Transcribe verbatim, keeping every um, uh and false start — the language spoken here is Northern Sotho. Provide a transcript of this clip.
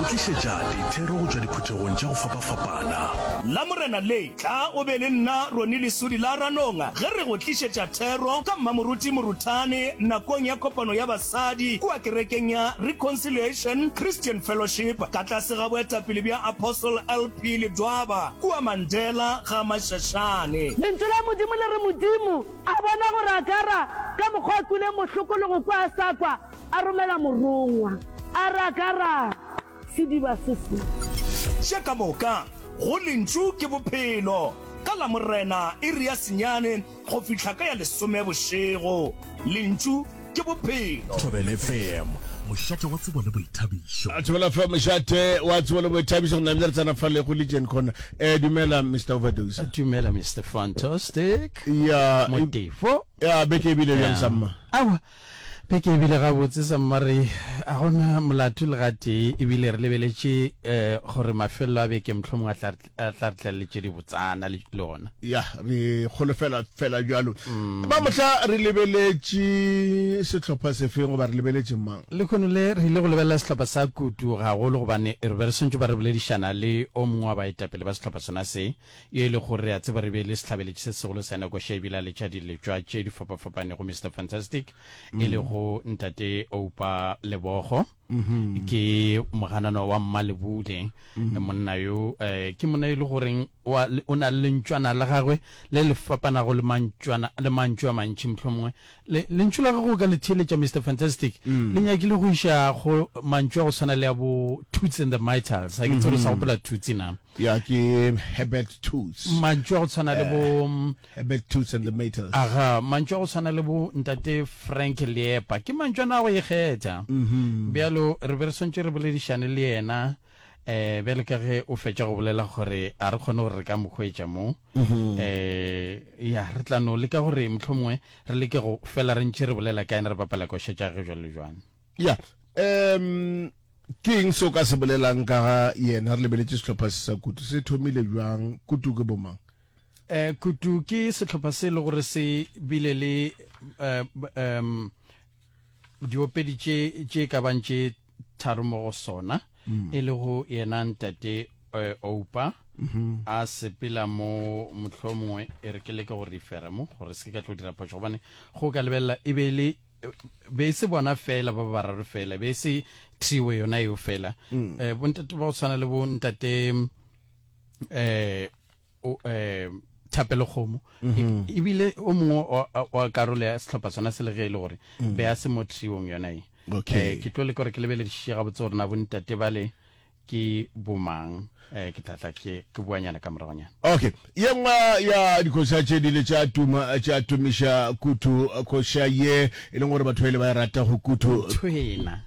tlišetša dithero go tšwa diphuthegong tša go fapafapana. Lamorena le, tla o be le nna Ronnie Lesodi la Ranong ge re go tlišetša thero ka Mmamoruti Moruthane nakong ya kopano ya basadi kua kerekeng ya Reconciliation Christian Fellowship ka tlase ga boetapele bja Apostle L P Ledwaba kua Mandela ga Mashashane. Lentšu la Modimo le re, Modimo a bona gore Agara ka mokgwa a kwileng bohloko le go kwa a sa kwa, a romela morongwa, a re, Agara, sediba se se. Tše ka moka go Lentšu ke Bophelo, ka Lamorena iri ya senyane go fihla ka ya lesome bošego. Lentšu ke Bophelo. Thobela F M, mošate wa tsebo le boithabišo. Thobela F M, mošate wa tsebo le boithabišo. Go namile re tsena fa le go Legion Corner. Eh, dumela Mister Overdose. Dumela Mister Fantastic. Ya. Motefo. Ya, beke e bile bjang samma? Aowa, beke e bile gabotse samma, re a gona molato le gatee, ebile re lebeletše um gore mafelelo a beke mohlomongwe a tla a tla re tlaleletše dibotsana le le ona. Ya, re kgolofela fela bjalo. Ba mohla re lebeletše sehlopha sefeng goba re lebeletše mang? Lehono le re ile go lebelela sehlopha sa Kutu gagolo gobane re be re swantše ba re boledišana le o mongwe wa baetapele ba sehlopha sona se, yo e lego gore re a tseba re be le sehlabeletši se segolo sa Nekoša ebile a letša diletšwa tše di fapafapanego, Mister Fantastic, e lego Ntate Oupa Lebogo. Ke moganana wa Mmalebule. Monna yo eh, ke monna e le goreng o na le lentšwana la gagwe le le fapanago le mantšwana le mantšu a mantši. Mohlomongwe le lentšu la gagwe o ka le theeletša, Mister Fantastic, le nyakile go iša go mantšu a go swana le a bo Toots and the Maytals. A ke tsebe sa gopola Toots na? Ya, ke Herbert Toots. Mantšu a go tshwana le bo Herbert Toots and the Maytals. Aga, mantšu a go tshwana le bo Ntate Frank Leepa, ke mantšu ana a go ikgetha. Bjalo re be re swantše re boledišane le yena um bjale ka ge o fetša go bolela gore a re kgone gore re ka mo hwetša mo. um ya, re tla no leka gore mohlomongwe re leke go fela re ntše re bolela ka ena, re bapala koša tša ge jwalo le jwang. Ya, um ke eng se o ka se bolelang ka ga yena? Re lebeletše sehlopha se sa Kutu, se thomile bjang? Kutu ke bomang? um Kutu ke sehlopha se e le gore se bile le um diopedi tše tše ka bang tše tharo mo go sona, e le go yena Ntate Oupa a sepela mo. Mohlomongwe e re ke leke go refera mo gore se ke ka tlo dira phošo, gobane go ka lebelela e be le be e se bona fela ba bararo fela, be e se trio yona eo fela. um bontate ba go tshwana le bo Ntate um um Thapelo Kgomo, ebile o mongwe wa karolo ya sehlopha sona se, le ge e le gore be a se mo triong yona e. Okay. Ke tlo leka gore ke lebeledišiše gabotse gore na bontate bale ke bomang. um ke tla tla ke ke buanyana ka moragonyana. Okay, ye nngwe ya dikoša tše di ile tša tuma, tša tumiša Kutu, koša ye e leng gore batho ba ile ba e rata go Kutu. Thwena.